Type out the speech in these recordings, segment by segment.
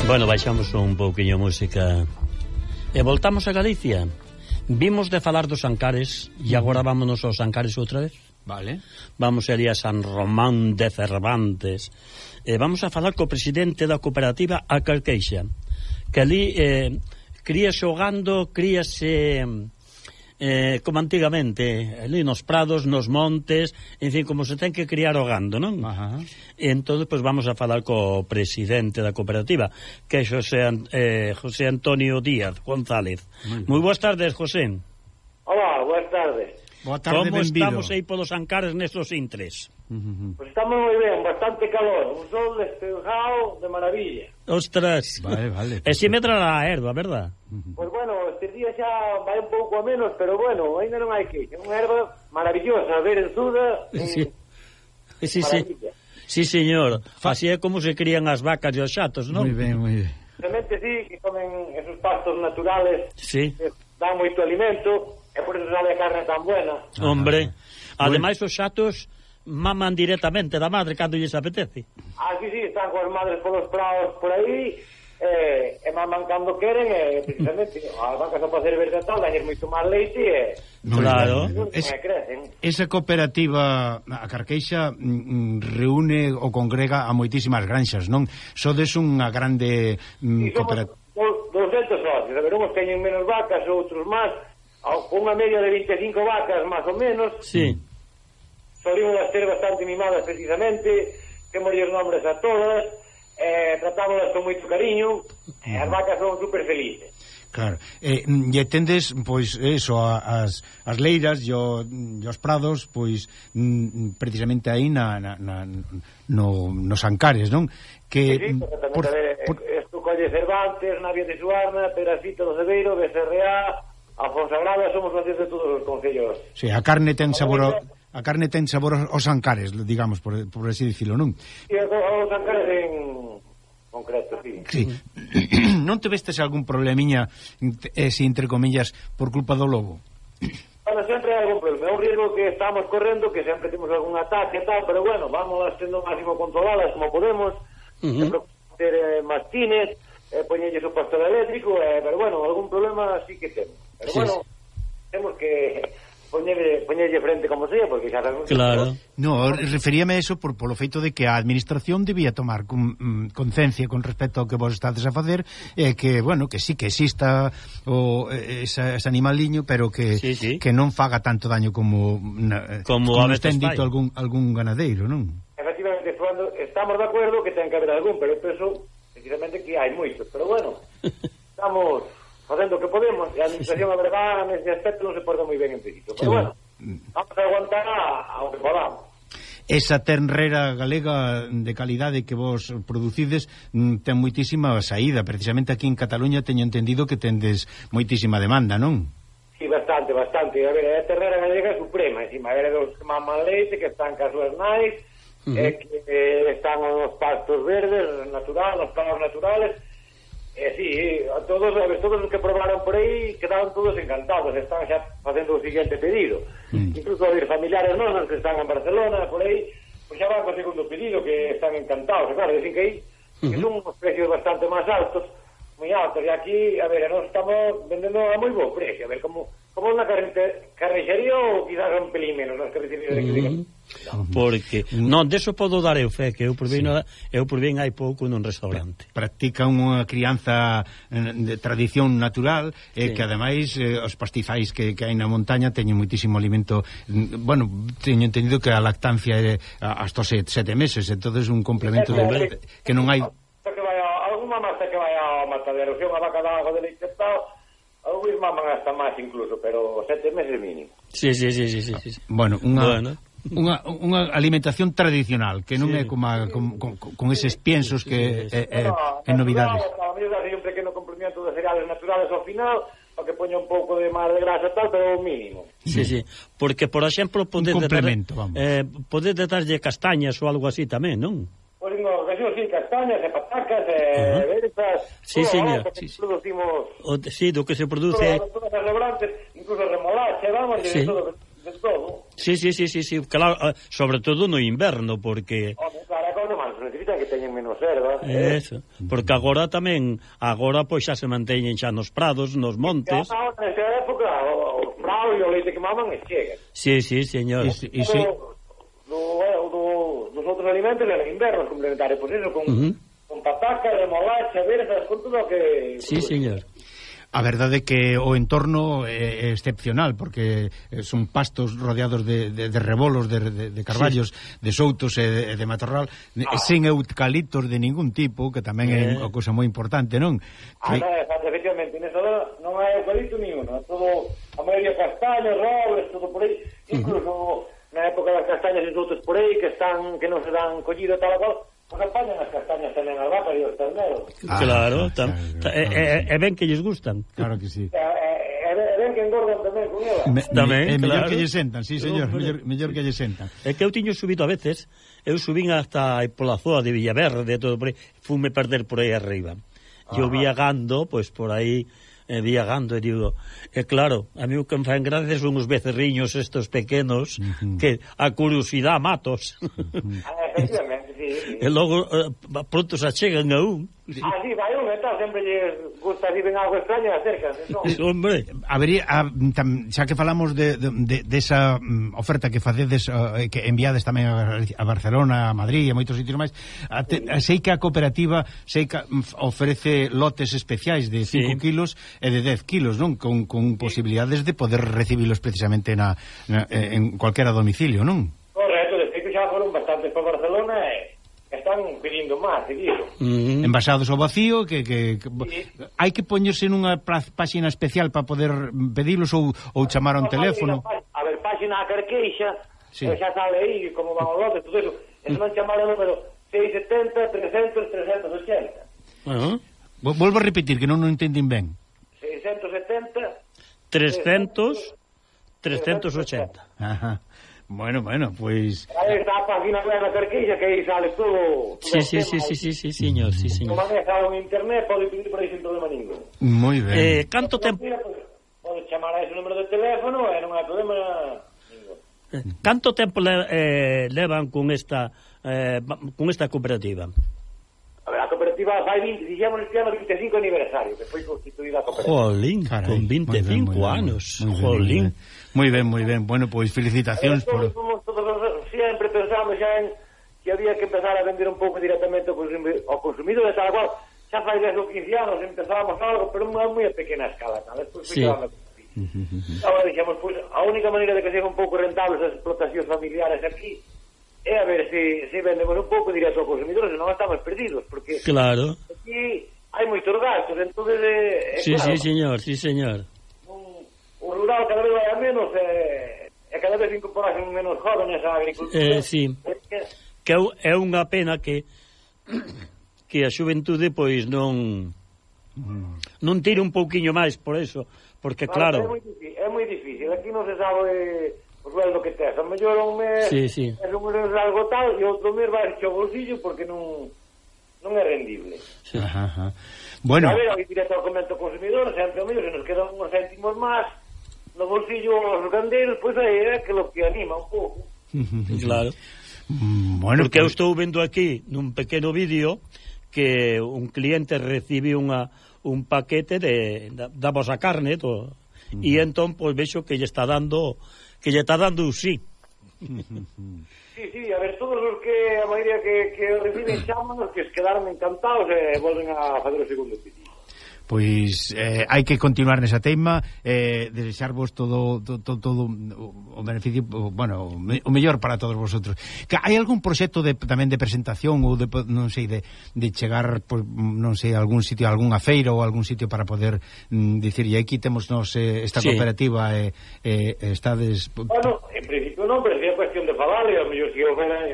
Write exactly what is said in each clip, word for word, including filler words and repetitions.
Bueno, baixamos un pouquiño a música e voltamos a Galicia. Vimos de falar dos Ancares e agora vámonos aos Ancares outra vez. Vale. Vamos ali a San Román de Cervantes e vamos a falar co presidente da cooperativa A Carqueixa, que ali eh, cría xogando, críase eh, como antigamente, ali nos prados, nos montes, en fin, como se ten que criar o gando, non? Ajá. E entón, pois, vamos a falar co presidente da cooperativa, que é José, eh, José Antonio Díaz González. Moi boas tardes, José. Hola, boas tardes. Boa tarde, como benvido. Estamos aí polos Ancares nestos intres? Uh-huh. Pues estamos moi ben, bastante calor, un sol despejado de maravilla. Ostras. Vale, vale. E si medra a erva, verdad? Uh-huh. Pues bueno, este día xa vai un pouco a menos, pero bueno, ainda non hai que. É unha erva maravillosa, verenzuda. Sí, sí, sí. Sí, señor. Así é como se crían as vacas e os xatos, non? Moi ben, moi ben. Realmente sí, que comen esos pastos naturales, sí, que dan moito alimento, e por eso sabe a carne tan buena. Hombre, ah, ademais os xatos maman directamente da madre cando lles apetece. Ah, sí, sí, están coas madres polos prados por aí, eh, e maman cando queren, e precisamente as vacas ao facer verde tal, dañer moito máis leite e... No, claro. Es, esa cooperativa, a Carqueixa, mm, reúne ou congrega a moitísimas granxas, non? Sodes unha grande mm, sí, cooperativa. doscientos socios, a ver, uns teñen menos vacas, outros máis, unha media de vinte e cinco vacas, máis ou menos. Sí. Solimos ter bastante mimadas precisamente, temos os nombres a todas, eh, tratámolas con moito cariño, e as vacas son super felices. Claro, e, e tendes, pois, eso, as, as leiras e, o, e os prados, pois, m, precisamente aí na, na, na, no, nos Ancares, non? Que, sí, sí, por, por... Esto colle Cervantes, Navia de Suarna, Pedacito do Cebeiro, B C R A, Afonsagrada, somos socios de todos os concellos. Sí, a carne ten sabor... A carne ten sabor aos Ancares, digamos, por, por así dicilo, non? Sí, aos Ancares en concreto, sí. Sí. Non te vestes algún problemiña, ese, entre comillas, por culpa do lobo? Bueno, sempre hai algún problema. É un riesgo que estamos correndo, que sempre temos algún ataque e tal, pero bueno, vamos tendo o máximo controladas como podemos, uh-huh. ter eh, mastines, eh, poñelles o pastor eléctrico, eh, pero bueno, algún problema sí que temos. Pero sí, bueno, sí. Temos que... Poñerlle, poñerlle frente como sea, porque xa sabemos... Claro. No, referíame a eso por polo feito de que a administración debía tomar con, mm, concencia con respecto ao que vos estades a facer, e eh, que, bueno, que sí que exista o esa, ese animaliño, pero que sí, sí. que non faga tanto daño como na, como, como ten dito algún, algún ganadeiro, non? Efectivamente, cuando estamos de acuerdo que ten que haber algún, pero eu penso, precisamente, que hai moitos, pero bueno, estamos... facendo o que podemos, e a administración, a verdade, nesse aspecto non se porta moi ben en principio, pero sí, bueno, vamos a aguantar ao que podamos. Esa ternrera galega de calidade que vos producides ten moitísima saída, precisamente aquí en Cataluña teño entendido que tendes moitísima demanda, non? Sí, bastante, bastante, a ver, a ternrera galega suprema, encima, a ver, dos que maman leite, que están cas súas nais, uh-huh. eh, que eh, están os pastos verdes, natural, os prados naturales. Eh, sí, a todos, a ver, todos os que probaron por aí quedaron todos encantados, están xa facendo o siguiente pedido. Mm. Incluso os familiares nosos que están en Barcelona, por aí, pois xa van co segundo pedido, que están encantados. E claro, dicen que aí uh-huh. que son uns precios bastante máis altos, moi altos, e aquí, a ver, nós estamos vendendo a moi bo precio, a ver, como como unha carnicería ou quizás un pelín menos nas carnicerías de aquí. No. Porque, non, deso podo dar eu fe, que eu por bien, sí. eu por bien hai pouco nun restaurante. Practica unha crianza de tradición natural, e sí. que ademais eh, os pastizais que, que hai na montaña teñen moitísimo alimento. Bueno, teño entendido que a lactancia é hasta sete, sete meses, entonces un complemento de, de, que non hai... Que vai a, alguna masa que vai ao matadero, se unha vaca de agua de leite tal... Alguns maman hasta máis incluso, pero sete meses mínimo. Sí, sí, sí, sí, sí, sí. Bueno, unha, bueno. unha, unha alimentación tradicional, que non sí. é como a, con, con, con eses piensos que sí, sí, sí. é, é, é novidades. A mí dá un pequeno complemento de cereales naturales ao final, para que poña un pouco de máis de grasa tal, pero o mínimo. Sí, sí, porque, por exemplo, podes complemento, vamos. Eh, podes darlle castañas ou algo así tamén, non? Pois no, sí, castañas e patacas e uh-huh. versas. Sí, señor. Sí, sí. Producimos... O, sí, do que se produce... Todas as restaurantes, incluso remolacha, vamos, sí. de, todo, de todo. Sí, sí, sí, sí, sí, claro, sobre todo no inverno, porque... Hombre, claro, como non máis, necesitan que teñen menos erva. Eso, porque agora tamén, agora pois xa se manteñen xa nos prados, nos montes. Xa, nesa época, os prados e o leite que maman e chegan. Sí, sí, señor. E, e se... do, do, dos outros alimentos eran invernos complementarios, pois eso, con, uh -huh. con pataca, remolacha, verzas, con todo o que... Sí, señor. A verdade é que o entorno é excepcional, porque son pastos rodeados de, de, de rebolos, de, de, de carballos, sí. de soutos e de, de matorral, ah. sen eucaliptos de ningún tipo, que tamén eh. é unha cousa moi importante, non? Ah, que... non, efectivamente, nesa hora non hai eucalipto ni uno, todo, a maioría castañas, robles, todo por aí, incluso uh -huh. na época das castañas e soutos por aí, que están, que non se dan collido tal a cual, pues apañan as castañas tamén as vacas e os terneros. Ah, claro, tam, claro, e, e, e ben que lles gustan. Claro que sí. E, e, e ben que engordan tamén con ela. Me, tamén, é claro. mellor que lle sentan, sí, señor, no, mellor, mellor que lle sentan. É que eu tiño subido a veces, eu subín hasta pola zoa de Villaverde, todo por aí, fume perder por aí arriba. Eu viagando, pois por aí, eh, viagando, e digo, e claro, a mí o que me fan gracia son os becerriños estos pequenos, uh -huh. que a curiosidade matos. Uh -huh. ah, efectivamente, sí, sí. E logo, eh, pronto se achegan a un. Sí. Ah, sí, vai un, e tal, sempre lles gusta si ven algo extraño e acércanse, non? Hombre. Habería, a, tam, xa que falamos de, de, de, de esa um, oferta que facedes, uh, que enviades tamén a, a Barcelona, a Madrid e a moitos sitios máis, a te, a, sei que a cooperativa sei que ofrece lotes especiais de cinco sí. kilos e de dez kilos, non? Con, con posibilidades de poder recibilos precisamente na, na, en cualquiera domicilio, non? Correcto, de feito xa foron bastantes para Barcelona e están pedindo máis, seguido. Mm. Envasados ao vacío, que, que, que sí. hai que poñerse nunha páxina especial para poder pedilos ou, ou chamar a un teléfono. A ver, páxina a Carqueixa, sí. xa sale aí como van os lotes, todo eso. Eso non chamar o número seis setenta, trescentos, trescentos ochenta. Uh -huh. Volvo a repetir, que non o entendín ben. seiscentos setenta, trescentos, trescentos ochenta. Ajá. Bueno, bueno, pois... Aí está a página web da Carqueixa, que aí sale todo... Sí, sí, sí, sí, sí, sí, señor, sí, señor. Como maneja en internet, pode pedir por aí sin problema ningún. Moi ben. Eh, canto tempo... Pode chamar a ese número de teléfono e non hai problema ningún. Canto tempo le, eh, levan con esta eh, con esta cooperativa? A ver, a cooperativa fai vinte, dixemos este ano vinte e cinco aniversario, que foi constituída a cooperativa. Jolín, carai, con vinte e cinco anos. Jolín. Moi ben, moi ben. Bueno, pois felicitacións por... Todos, todos, sempre pensamos xa en que había que empezar a vender un pouco directamente ao consumidor, ao consumidor de tal cual. Xa fai dez ou quince anos empezábamos algo, pero moi, moi a pequena escala, tal. Despois sí. Ficábamos... Agora dixemos, pois, a única maneira de que sean un pouco rentables as explotacións familiares aquí é a ver se, se vendemos un pouco directo ao consumidor, senón estamos perdidos, porque claro. Aquí hai moitos gastos, entonces eh, sí, claro, sí, señor, sí, señor. O rural cada vez vai a menos e, e cada vez incorporasen menos jóvenes á agricultura. Eh, sí. Que é unha pena que que a xuventude pois non non tire un pouquiño máis por eso, porque claro, claro é moi difícil, é moi difícil. Aquí non se sabe o sueldo que tes. A mellor un mes sí, sí. é un mes algo tal e outro mes vai ao bolsillo porque non non é rendible. Sí. Ajá, ajá. Bueno, a ver, aí directo ao comento consumidor, sempre o mellor, se nos quedan uns céntimos máis no bolsillo os gandeiros, pois aí é que lo que anima un pouco. Claro. Mm, bueno, porque pues... eu estou vendo aquí nun pequeno vídeo que un cliente recibe unha un paquete de da, da vosa carne to, uh -huh. e entón pois vexo que lle está dando que lle está dando un sí. Sí, sí, a ver, todos os que a maioría que, que reciben chámanos que se quedaron encantados e volven a fazer o segundo pedido. Pois eh, hai que continuar nesa teima, eh, desexarvos todo, todo, todo o beneficio, bueno, o mellor para todos vosotros. Que hai algún proxecto de, tamén de presentación ou de, non sei, de, de chegar, pues, non sei, a algún sitio, a algunha feira ou algún sitio para poder mm, dicir, e aquí temos nos eh, esta sí. cooperativa e eh, eh, estades... Bueno, en principio non, pero sería cuestión de falar, e ao mellor se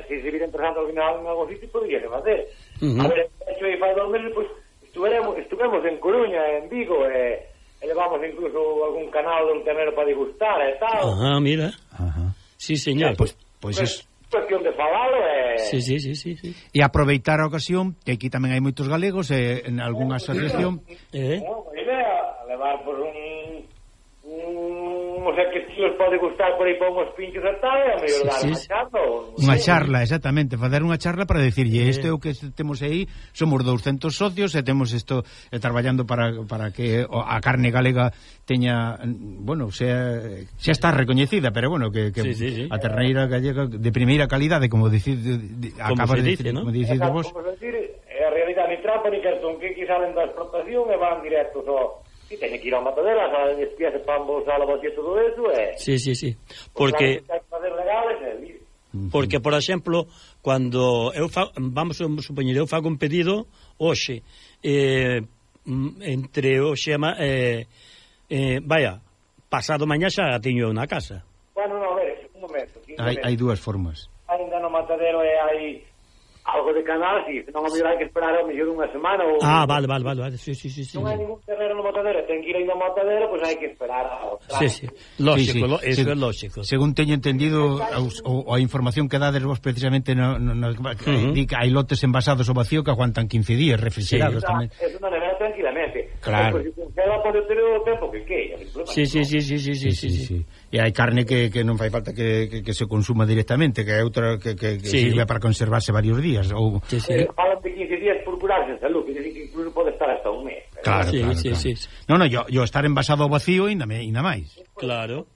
si se vira interesante al final en algún sitio, podría facer. Uh -huh. A ver, hecho aí fai dos meses, pois, pues, Estuvemos, estuvemos en Coruña, en Vigo, e, e levamos incluso algún canal de un tenero para degustar e tal. Ajá, mira. Ajá. Sí, señor. Eh, pues, pues es... cuestión de falalo e... Sí, sí, sí, sí, sí. E aproveitar a ocasión, que aquí tamén hai moitos galegos, e en algunha asociación... Eh? No, a idea, levar por un... uns vemos a que estilos pode gustar por aí para unhos pinchos e tal, e a mellor dar unha charla ou... Unha charla, exactamente, facer unha charla para decirlle, isto é o que temos aí, somos douscentos socios e temos isto eh, traballando para, para que a carne galega teña, bueno, sea, xa está recoñecida, pero bueno, que, que sí, sí, sí. a terneira gallega de primeira calidade, como dicir, de, de, acabas de dice, decir, ¿no? como dicides vos. Como decir, a realidade ni trampa ni cartón que aquí salen da explotación e van directos ao... Si teñen que ir ao matadero, a despiase para embolsar a bote e todo eso, e... Sí, sí, sí, porque... Porque, por exemplo, cando eu fa... vamos a supoñer, eu fago un pedido hoxe, eh, entre hoxe e... Eh, vaya, pasado mañá xa teño na casa. Bueno, non, a ver, un momento. Hai, hai dúas formas. Ainda no matadero e hai algo de canal, si, non a mellor hai que esperar a mellor unha semana ou... Ah, vale, vale, vale, vale. Sí, sí, sí, sí. Non hai ningún terreno no matadero, ten que ir aí no matadero, pois pues hai que esperar ao Sí, sí, lógico, sí, sí. Lo, eso Se, é lógico. Según teño entendido, o, a información que dades vos precisamente no, no, no, uh-huh. di que hai lotes envasados ao vacío que aguantan quince días refrigerados sí. tamén. É unha nevera tranquilamente. Claro. Pois pues, se ela pode ter o tempo que queira. Sí, sí, sí, sí, sí, sí, sí, sí, sí. E hai carne que, que non fai falta que, que, que se consuma directamente, que é outra que, que, que sí. sirve para conservarse varios días ou sí, sí. Eh, falan de quince días por curarse en salud, que decir que incluso pode estar hasta un mes. Claro, sí, claro, sí, claro. sí. No, no, yo, yo estar envasado ao vacío ainda me, ainda máis. Claro.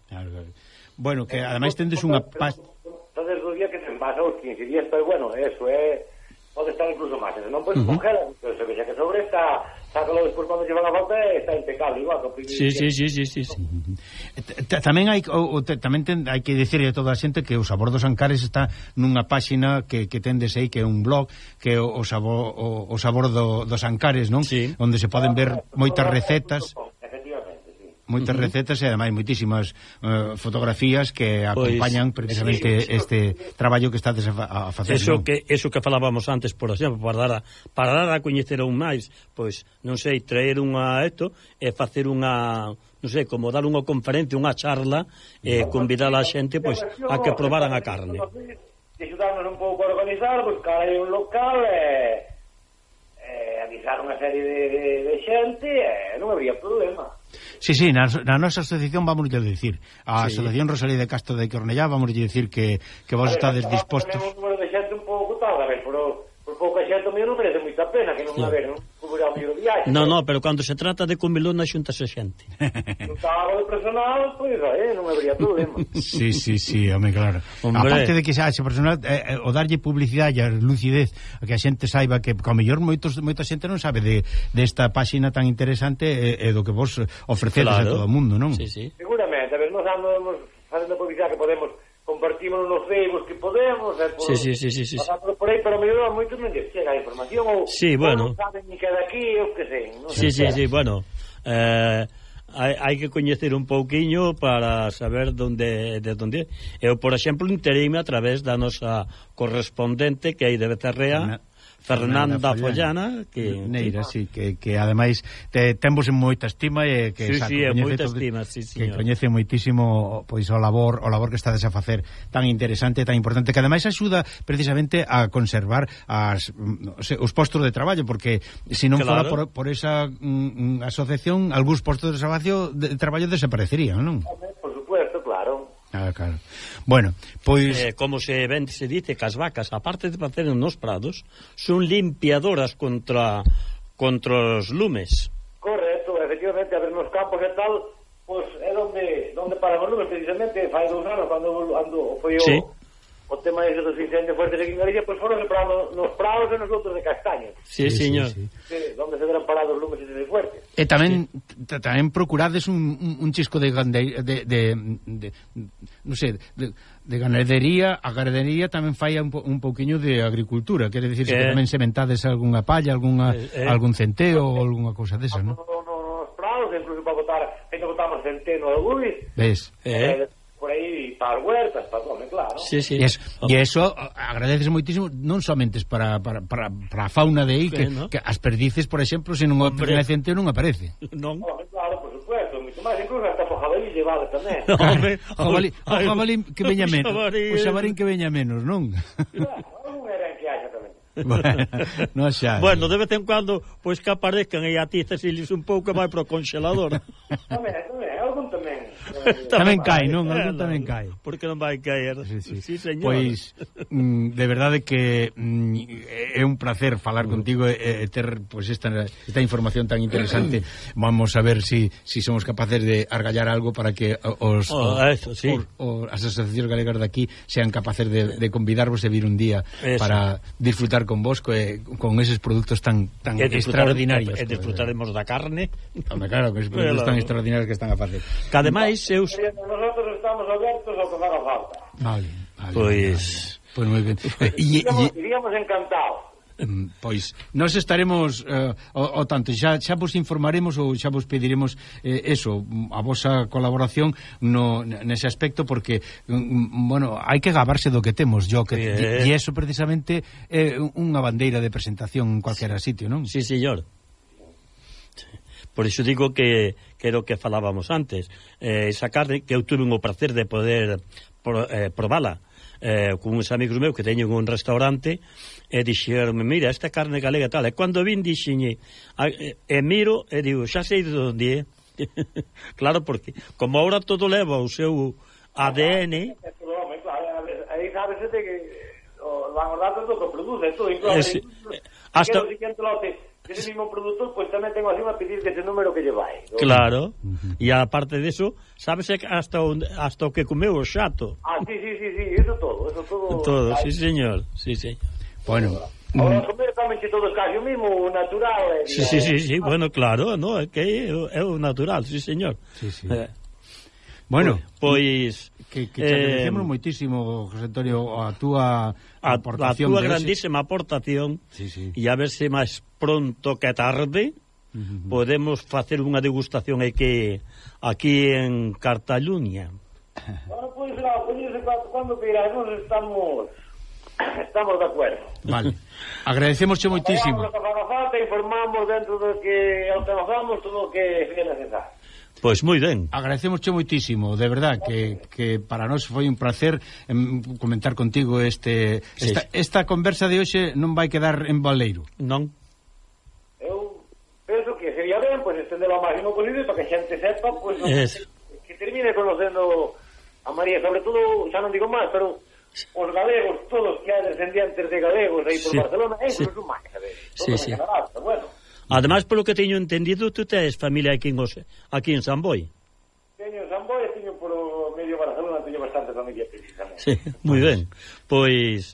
Claro, claro. Bueno, que ademais tendes unha paz... Entonces os días que se envasa os quince días, pero bueno, eso é... Pode estar incluso máis, non podes uh -huh. congelar, pero se vexa que sobre está, sácalo despois cando lle van a falta está impecable, igual que o Sí, sí, sí, sí, sí, sí. Tamén hai o, o, tamén ten, hai que dicirle a toda a xente que o Sabor dos Ancares está nunha páxina que, que tendes aí, que é un blog, que é o, o, sabor, o, o sabor do, dos Ancares, non? Sí. Onde se poden ver moitas recetas, moitas Uh-huh. recetas e ademais moitísimas uh, fotografías que acompañan pues, precisamente sí, sí. este traballo que estades a, a facer. Eso ¿no? que eso que falábamos antes, por exemplo, para dar a, para dar a coñecer aún máis, pois, non sei, traer unha esto e facer unha, non sei, como dar unha conferencia, unha charla e eh, convidar a xente pois a que probaran a carne. Axudarnos un pouco a organizar, buscar aí un local e eh, avisar unha serie de, de, de xente e eh, non habría problema. Sí, sí, na, na nosa asociación vamos a decir, a sí. Asociación Rosalía de Castro de Cornellá vamos a decir que, que vos estades dispostos. Tenemos un número de xente un pouco tal, a ver, por, por pouca xente o mellor non merece moita pena que non sí. a ver, non cubrir o mellor viaxe. No, no, pero cando se trata de comilona xuntase xente. Non estaba de personal, pois, eh, non habría problema. Sí, sí, sí, home, claro. Hombre. Aparte de que xa ese personal, eh, o darlle publicidade e lucidez, a que a xente saiba que, como mellor, moitos, moita xente non sabe de, de esta páxina tan interesante e, e do que vos ofrecedes claro. a todo o mundo, non? Sí, sí. Seguramente, a ver, nos andamos facendo publicidade que podemos, compartimos nos Facebook que podemos, eh, por, sí, sí, sí, sí, sí. pasando por aí, pero mellor moitos non lle chega a información ou, sí, bueno. ou non saben ni que daqui, eu que sei. Non sí, sí, sei. sí, bueno, eh... Hai, hai que coñecer un pouquiño para saber donde, de donde. Eu, por exemplo, entereime a través da nosa correspondente que hai de Becerrea, Fernanda, Fernanda Follana, que Neira, sí, que, que ademais te, temos en moita estima e que sí, saco, sí, en moita todo, estima, sí, que señor. coñece moitísimo pois o labor, o labor que estades a facer tan interesante, tan importante, que ademais axuda precisamente a conservar as, os postos de traballo, porque se non claro. fora por, por esa mm, asociación, algúns postos de traballo, de traballo desaparecerían, non? Por supuesto, claro. Ah, claro. Bueno, pois... Eh, como se ven, se dice que as vacas, aparte de facer nos prados, son limpiadoras contra contra os lumes. Correcto, efectivamente, a ver, nos campos e tal, pois pues, é onde, onde paran os lumes, precisamente, fai dous anos, cando ando, foi o, sí. o tema ese dos incendios fuertes aquí en Galicia, pois pues foron separando nos prados e nos outros de castaños. Sí, sí señor. Sí, sí. Sí, onde se deran parados os lumes ese fuertes. E tamén sí. tamén procurades un, un, un chisco de, gande, de, de, de, de non sei, de, de ganadería, a ganadería tamén fai un, po, un pouquiño de agricultura, quere dicir eh. que tamén sementades algunha palla, algunha, eh, eh. algún centeo ou algunha cousa desa, non? No, no, nos prados, incluso para botar, que botamos centeno de luis. Ves? Eh. eh por aí para as huertas, para todo, claro. Sí, sí. E, es, oh. e eso agradeces moitísimo, non somente para, para, para, para a fauna de aí, que, ¿no? que as perdices, por exemplo, se non o pertenecente non aparece. Non. Oh, claro, por supuesto, moito máis, incluso hasta por jabalí llevado tamén. No, hombre, o jabalí, o jabalí que veña menos, o xabarín que veña menos, non? Claro, non era en que haxa tamén. Bueno, no xa. Bueno, de vez en cuando, pois que aparezcan e a ti cesiles un pouco vai pro congelador. Tamén, tamén, algún tamén. Tamén cae, non? Algún tamén cae. Por que non vai caer? Sí, sí. Sí, señor. Pois, mm, de verdade que mm, é un placer falar contigo e, e ter pois, esta, esta información tan interesante. Vamos a ver si, si somos capaces de argallar algo para que os, oh, o, eso, sí. os, os, as asociacións galegas de aquí sean capaces de, de convidarvos e vir un día eso. Para disfrutar con vos co, con eses produtos tan, tan extraordinarios. E disfrutaremos da carne. Hombre, claro, que esos produtos tan extraordinarios que están a facer. Que ademais eu... Nosotros estamos abertos ao que faga falta. Vale, vale. Pois... Pois moi ben. E, iríamos, iríamos encantados. Pois, nós estaremos uh, o, o tanto, xa, xa vos informaremos ou xa vos pediremos eh, eso, a vosa colaboración no, nese aspecto, porque um, bueno, hai que gabarse do que temos yo, que, e, e eso precisamente é unha bandeira de presentación en cualquiera sitio, non? Sí, señor. Por iso digo que, que era o que falábamos antes, eh, esa carne que eu tuve o prazer de poder pro, eh, probala eh, con uns amigos meus que teñen un restaurante e dixeronme, mira, esta carne galega tal, e cando vin dixenlle e, e miro e digo, xa sei de onde é. Claro, porque como ahora todo leva o seu A D N, aí sabes que van os datos do que produce, todo incluso hasta o siguiente lote ese mismo productor, pois pues, tamén tengo así a pedir que ese número que lle vai. ¿No? Claro, uh-huh. E aparte de eso, sabes hasta o, hasta o que comeu o xato. Ah, sí, sí, sí, sí, eso todo, eso todo. Todo, sí, señor, sí, sí. Bueno, ahora mm. comer tamén que todo es casi o mismo, natural. Eh, sí, sí, sí, sí, bueno, claro, no, é que é o natural, sí, señor. Sí, sí. Eh, bueno, pois que, que te eh, agradecemos moitísimo, José Antonio, a túa aportación, a túa grandísima ese... aportación, sí, sí. E a ver se máis pronto que tarde uh-huh. podemos facer unha degustación aquí, aquí en Cartaluña. Bueno, pois, pues, pues, cando queiramos estamos estamos de acuerdo. Vale, agradecemosche moitísimo. Vamos a falta, informamos dentro do que alcanzamos todo o que sea necesario. Pois moi ben. Agradecemosche moitísimo, de verdad, que, que para nós foi un placer em, comentar contigo este sí. esta, esta conversa de hoxe non vai quedar en baleiro. Non. Eu penso que sería ben, pois, pues, estender o máximo posible para que a xente sepa, pois, pues, que, que termine conocendo a María, sobre todo, xa non digo máis, pero os galegos, todos que hai descendientes de galegos aí por sí. Barcelona, eso sí. Non máis, a ver, sí, sí. Canadá, pero bueno. Ademais, polo que teño entendido, tú tes familia aquí en, os, aquí en San Boi. Teño en San Boi e teño por medio Barcelona, teño bastante familia precisamente. Sí, moi ben. Pois...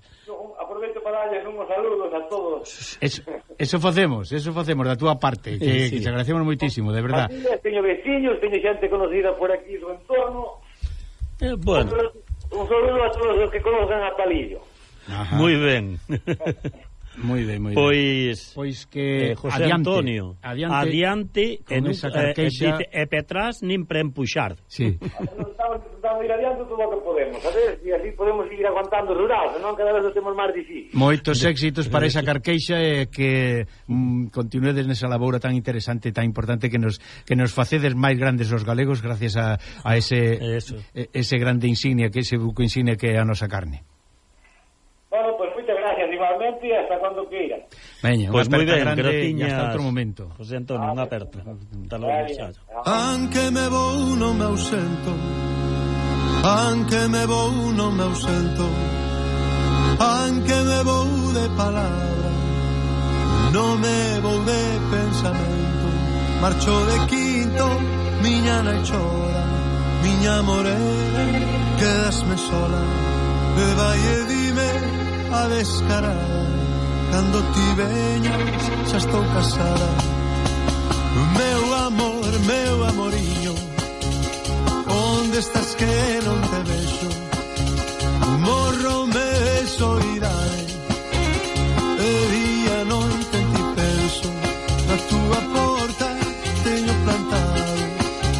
Aproveito para darles unhos saludos a todos. Eso, eso facemos, eso facemos da túa parte, que, sí, sí. que te agradecemos moitísimo, de verdad. Teño veciños, teño xente conocida por aquí do entorno. Eh, bueno. Un saludo a todos os que conocen a Palillo. Moi ben. Moi ben, moi ben. Pois, pois que eh, José adiante, Antonio, adiante, adiante en esa carqueixa, e, e petras nin para empuxar. Sí. Estamos intentando ir adiante todo o que podemos, a ver, e así podemos seguir aguantando rural, senón cada vez o temos máis difícil. Moitos éxitos para esa carqueixa e que mm, continuedes nesa labora tan interesante, tan importante que nos que nos facedes máis grandes os galegos gracias a, a ese Eso. ese grande insignia, que ese buco insignia que é a nosa carne. Bueno, pues muchas gracias igualmente y hasta cuando quieran. Veña, pues unha moi ben, grande graciñas, e hasta outro momento. José Antonio, unha aperta. Hasta logo, xa. Anche me vou non me ausento, anche me vou non me ausento, anche me vou de palabra, non me vou de pensamento, marcho de quinto, miña nai chora, miña morena, quedasme sola, e vai e dime a descarada, cando ti veñas xa estou casada. Meu amor, meu amoriño, onde estás que non te vexo? Morro me de soidade, e día noite en ti penso. Na túa porta teño plantado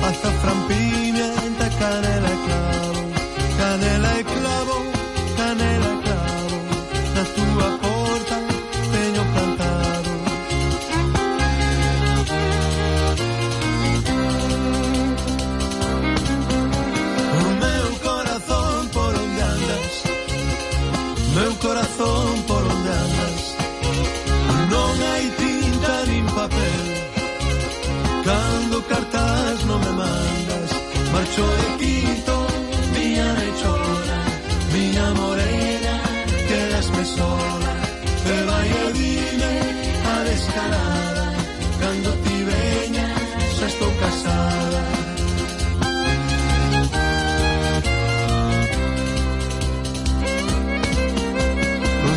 azafrán, pimienta, canela e clavo, canela e clavo, canela e clavo. Na túa porta teño plantado. O meu corazón por onde andas, meu corazón por onde andas, non hai tinta nin papel, cando cartas non me mandas, marcho de quinto, miña rechona, miña morena, quedasme sola, e vai e dime a descarada, cando ti veña, xa estou casada.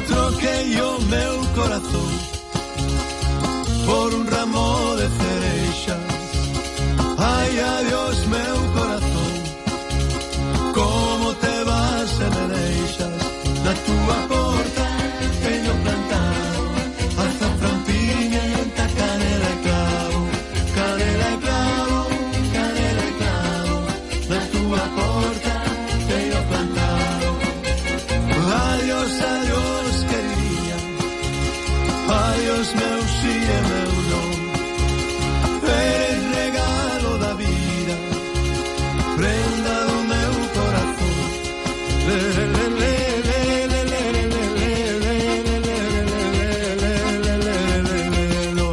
Troquei o meu corazón por un ramo de cereixas. Ai, adiós, meu corazón, como te vas e me deixas. Na túa porta teño plantado azafrán, pimienta, canela e clavo, canela e clavo, canela e clavo. Na túa porta teño plantado. Adiós, adiós, queridinha, adiós, meu si e meu non. Eres regalo da vida, prenda do meu corazón. Le, le, le, le, le, le, le, le, le, le, le, le, no.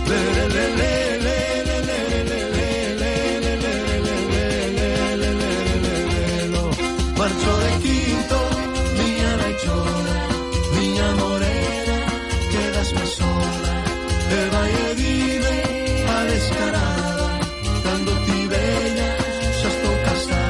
Le, le, le, le, le, le, le, le, le, le, le, no. Marcho de quinto, miña rechona, miña morena, quedasme sola, e vai e dime a descarada, cando ti veña, xa estou casada.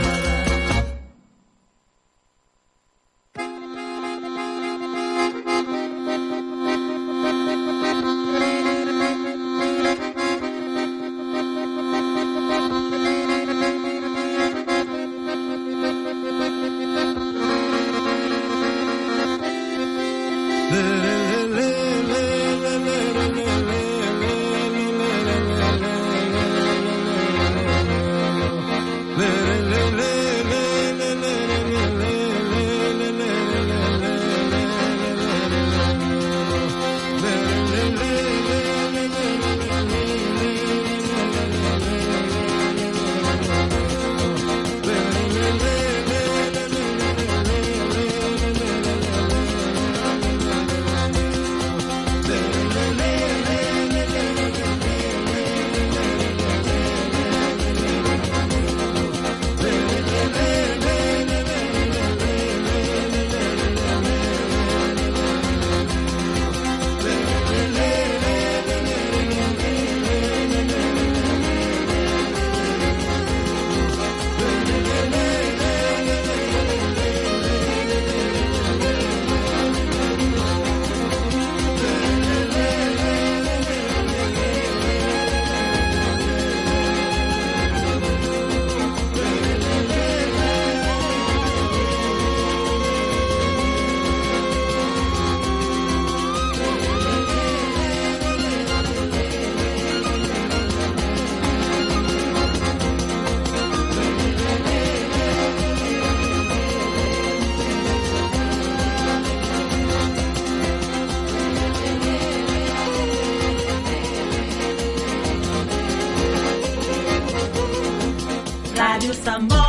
Rádio Sambódromo.